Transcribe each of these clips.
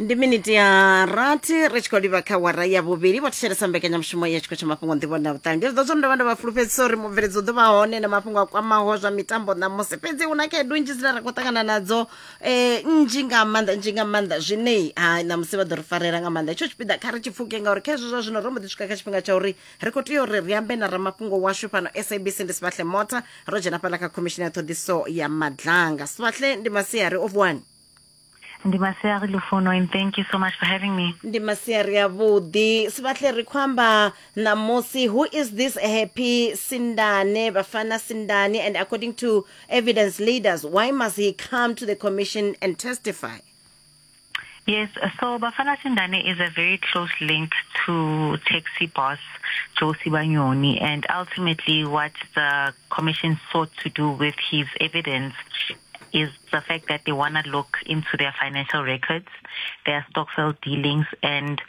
Ndi miniti ya rathi ri tshi khou livha kha wara ya vhuvhili. Vho thetshelesa mbekanyamushumo ya tshiko tsha mafhungo, nḓivho na vhuṱali. Ndi zwiḓo zwo ndo vha ndo vha fulufhedzisa uri mubveledzi u ḓo vha hone na mafhungo a kwamaho zwa mitambo ṋamusi, fhedzi hu na khaedu nnzhi dzine ra khou ṱangana nadzo, nnzhi nga maanḓa, nnzhi nga maanḓa, zwine ha ṋamusi vha ḓo ri farela nga maanḓa. Hetsho tshipiḓa kha ri tshi pfuke, ngauri kha hezwo zwa zwino ro mbo ḓi swika kha tshifhinga tsha uri ri khou tea uri ri ambe na ramafhungo washu fhano SABC, ndi Sibahle Mota. Ro dzhena fhaḽa kha khomishini ya ṱhoḓiso ya Madlanga. Sibahle, ndi masiari o vuwani? Ndi masiari Lufuno, and thank you so much for having me. Ndi masiari avhuḓi Sibahle. Ri khou amba ṋamusi, who is this Happy Sindane, Bafana Sindane, and according to evidence leaders, why must he come to the commission and testify? Yes, so Bafana Sindane is a very close link to taxi boss Joe Sibanyoni, and ultimately what the commission sought to do with his evidence is the fact that they want to look into their financial records, their stokvel dealings, and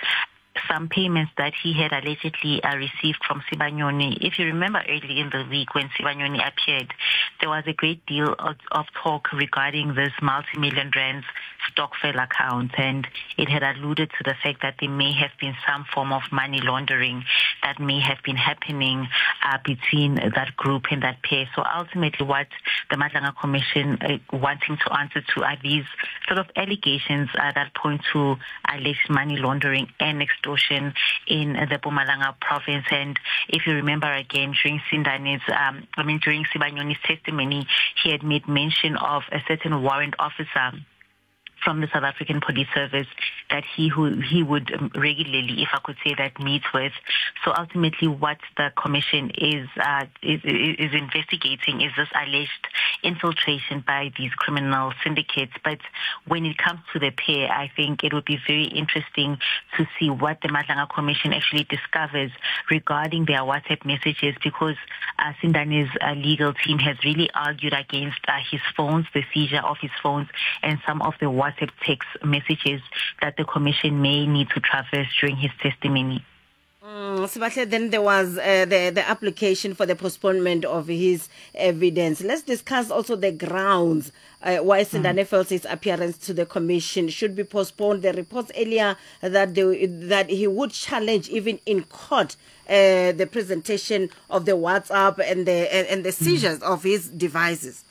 some payments that he had allegedly received from Sibanyoni. If you remember early in the week when Sibanyoni appeared, there was a great deal of talk regarding this multi-million rands stokvel account, and it had alluded to the fact that there may have been some form of money laundering that may have been happening between that group and that pair. So ultimately what the Madlanga Commission wanting to answer to are these sort of allegations that point to alleged money laundering and extortion in the Mpumalanga province. And if you remember again, during Sindane's, I mean, during Sibanyoni's testimony, he had made mention of a certain warrant officer from the South African Police Service that he would regularly, if I could say that, meet with. So ultimately what the commission is investigating is this alleged infiltration by these criminal syndicates. But when it comes to the pair, I think it would be very interesting to see what the Madlanga Commission actually discovers regarding their WhatsApp messages, because Sindane's legal team has really argued against his phones, the seizure of his phones, and some of the WhatsApp text messages that the commission may need to traverse during his testimony. Sibahle, then there was the application for the postponement of his evidence. Let's discuss also the grounds why Sindane felt his appearance to the commission should be postponed. The reports earlier that that he would challenge even in court the presentation of the WhatsApp and the seizures of his devices.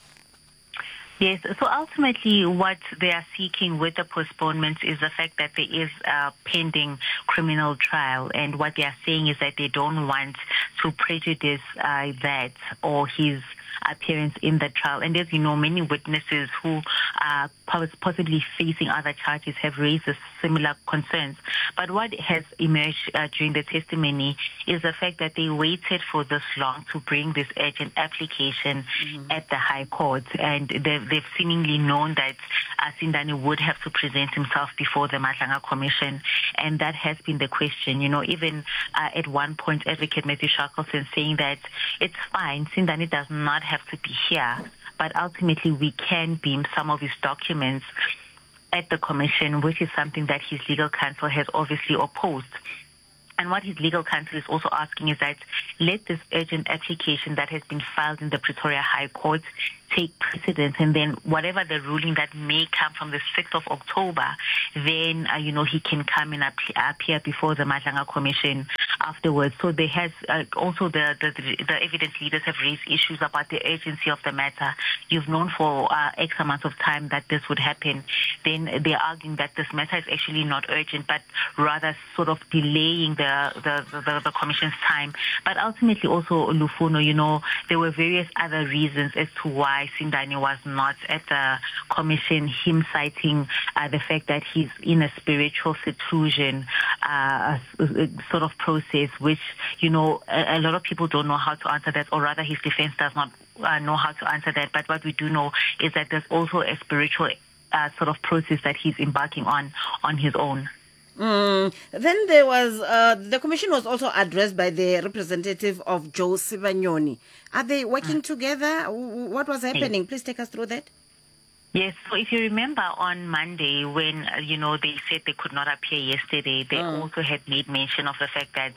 Yes, so ultimately what they are seeking with the postponement is the fact that there is a pending criminal trial, and what they are saying is that they don't want to prejudice that or his appearance in the trial. And as you know, many witnesses who are possibly facing other charges have raised similar concerns. But what has emerged during the testimony is the fact that they waited for this long to bring this urgent application at the High Court, and they've seemingly known that Sindane would have to present himself before the Madlanga Commission, and that has been the question. You know, even at one point, Advocate Matthew Shackleton saying that it's fine, Sindane does not have to be here, but ultimately we can beam some of his documents at the commission, which is something that his legal counsel has obviously opposed. And what his legal counsel is also asking is that let this urgent application that has been filed in the Pretoria High Court take precedence, and then whatever the ruling that may come from the 6th of October, then, you know, he can come and appear before the Madlanga Commission afterwards. So there has also the evidence leaders have raised issues about the urgency of the matter. You've known for X amount of time that this would happen. Then they're arguing that this matter is actually not urgent, but rather sort of delaying the commission's time. But ultimately also, Lufuno, you know, there were various other reasons as to why Sindane was not at the commission, him citing the fact that he's in a spiritual seclusion sort of process, which, you know, a lot of people don't know how to answer that, or rather his defense does not know how to answer that. But what we do know is that there's also a spiritual sort of process that he's embarking on his own. Then there was, the commission was also addressed by the representative of Joe Sibanyoni. Are they working together? What was happening? Please take us through that. Yes, so if you remember on Monday when, you know, they said they could not appear yesterday, they also had made mention of the fact that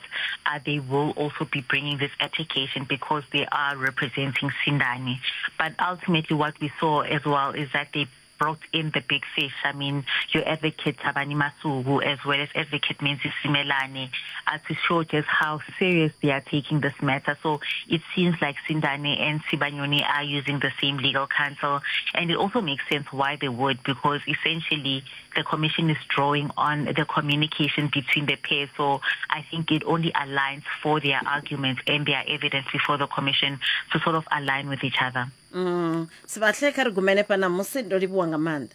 they will also be bringing this application because they are representing Sindane. But ultimately what we saw as well is that they brought in the big fish. I mean, your advocate Thabani Masuku, as well as advocate Menzi Simelane, to show just how serious they are taking this matter. So it seems like Sindane and Sibanyoni are using the same legal counsel. And it also makes sense why they would, because essentially the commission is drawing on the communication between the pair. So I think it only aligns for their arguments and their evidence before the commission to sort of align with each other. Sibahle, kha ri gumele fhana musi ndo livhuwa nga maanḓa.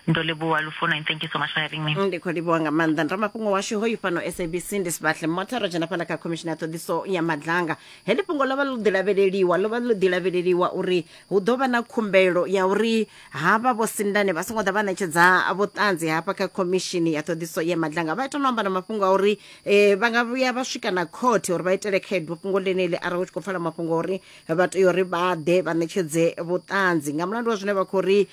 Ndo livhuwa Lufuno, and thank you so much for having me. Ndi khou livhuwa nga maanḓa. Ndi ramafhungo washu hoyu fhano SABC ndi Sibahle Motha. Ro dzhena fhala kha khomishini ya ṱhoḓiso ya Madlanga. Heḽi fhungo ḽo vha ḽo ḓi lavheleliwa, ḽo vha ḽo ḓi lavheleliwa uri hu ḓo vha na khumbelo ya uri havha Vho Sindane vha songo ḓa vha ṋetshedza vhuṱanzi hafha kha khomishini ya ṱhoḓiso ya Madlanga. Vha ita no amba na mafhungo a uri vha nga vhuya vha swika na khothe uri vha itele khaedu fhungo ḽeneḽi arali hu tshi khou pfala mafhungo a uri vha tea uri vha ḓe vha ṋetshedze vhuṱanzi nga mulandu wa zwine vha khou ri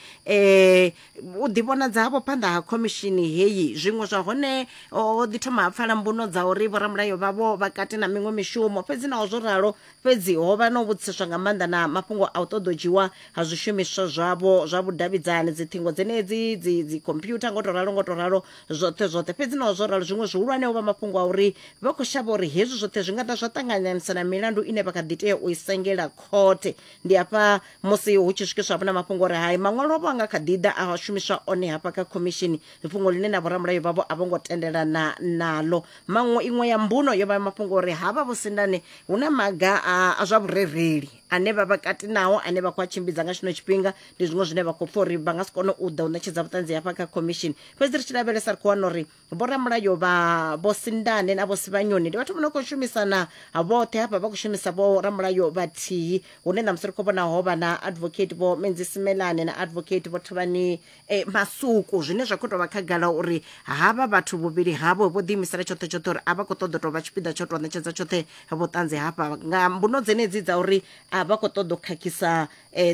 u ḓivhonadza havho phanḓa ha khomishini heyi. Zwiṅwe zwa hone ho ḓi thoma ha pfala mbuno dza uri vhoramulayo vhavho vha kati na miṅwe mishumo, fhedzi naho zwo ralo fhedzi ho vha na u vhudziseswa nga maanḓa na mafhungo a u ṱoḓa u dzhiwa ha zwishumiswa zwavho zwa vhudavhidzani, dziṱhingo dzenedzi, dzi dzi computer, ngo to ralo ngo to ralo zwoṱhe zwoṱhe. Fhedzi naho zwo ralo zwiṅwe zwihulwane ho vha mafhungo a uri vha khou shavha uri hezwi zwoṱhe zwi nga ḓa zwa ṱanganisa na milandu ine vha kha ḓi tea u i sengela khothe. Ndi hafha musi hu tshi swikiswa hafhu na mafhungo uri hai maṅwalo avho a nga kha ḓi ḓa a shumiswa one hafha kha khomishini, fhungo ḽine na vhoramulayo vhavho a vho ngo tendelana naḽo. Maṅwe iṅwe ya mbuno yo vha mafhungo uri havha Vho Sindane hu na maga a zwa vhurereli ane vha vha kati nao ane vha khou a tshimbidza nga tshino tshifhinga. Ndi zwiṅwe zwine vha khou pfa uri vha nga si kone u ḓa u ṋetshedza vhuṱanzi hafha kha khomishini. Fhedzi ri tshi lavhelesa ri khou wana uri vhoramulayo vha Vho Sindane na Vho Sibanyoni ndi vhathu vho no khou shumisana vhoṱhe hafha, vha khou shumisa vhoramulayo vhathihi, hune ṋamusi ri khou vhona ho vha na advocate Vho Menzi Simelane na advocate Vho Thavhani Masuku, zwine zwa khou tou vha khagala uri havha vhathu vhuvhili havho vho ḓiimisela tshoṱhe tshoṱhe uri a vha khou ṱoḓa u tou vha tshipiḓa tsho tou ṋetshedza tshoṱhe vhuṱanzi hafha nga mbuno dzenedzi dza uri a vha khou ṱoḓa u khakhisa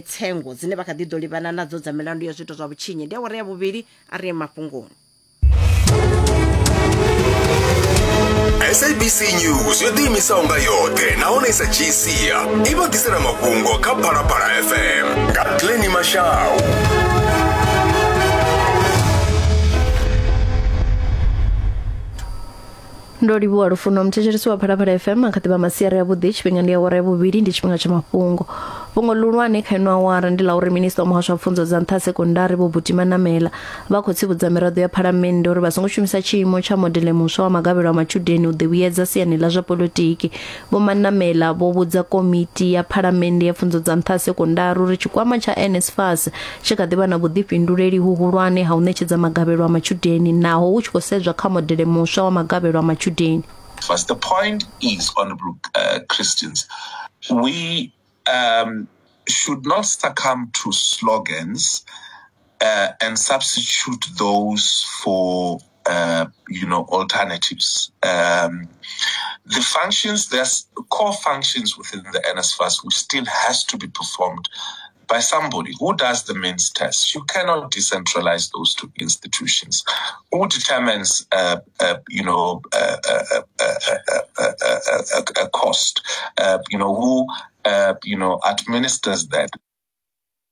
tsengo dzine vha kha ḓi ḓo livhana nadzo dza milandu ya zwiito zwa vhutshinyi. Ndi awara ya vhuvhili, a ri ye mafhungoni. SABC News yo ḓiimisaho nga yoṱhe nahone i sa dzhii sia i vha ḓisela mafhungo kha Phalaphala FM nga Glenny Mashau. Ndo livhuwa Lufuno. Muthetshelesi wa Phalaphala FM a kha ḓivha masiari avhuḓi. Tshifhinga ndi awara ya vhuvhili, ndi tshifhinga tsha mafhungo. Fhungo ḽihulwane kha ino awara ndi ḽa uri minisiṱa wa muhasho wa pfunzo dza nṱha sekondari Vho Buti Manamela vha khou tsivhudza miraḓo ya phalamennde uri vha songo shumisa tshiimo tsha modele muswa wa magavhelo a matshudeni u ḓivhuyedza siani ḽa zwa poḽotiki. Vho Manamela vho vhudza komiti ya phalamennde ya pfunzo dza nṱha sekondari uri tshikwama tsha NSFAS tshi kha ḓi vha na vhuḓifhinduleli huhulwane ha u ṋetshedza magavhelo a matshudeni naho hu tshi khou sedzwa kha modele muswa wa magavhelo a matshudeni. First, the point is, Honorable Christians, we should not succumb to slogans and substitute those for alternatives. The functions, there's core functions within the NSFAS which still has to be performed by somebody who does the means test. You cannot decentralize those two institutions. Who determines, a cost? Who administers that?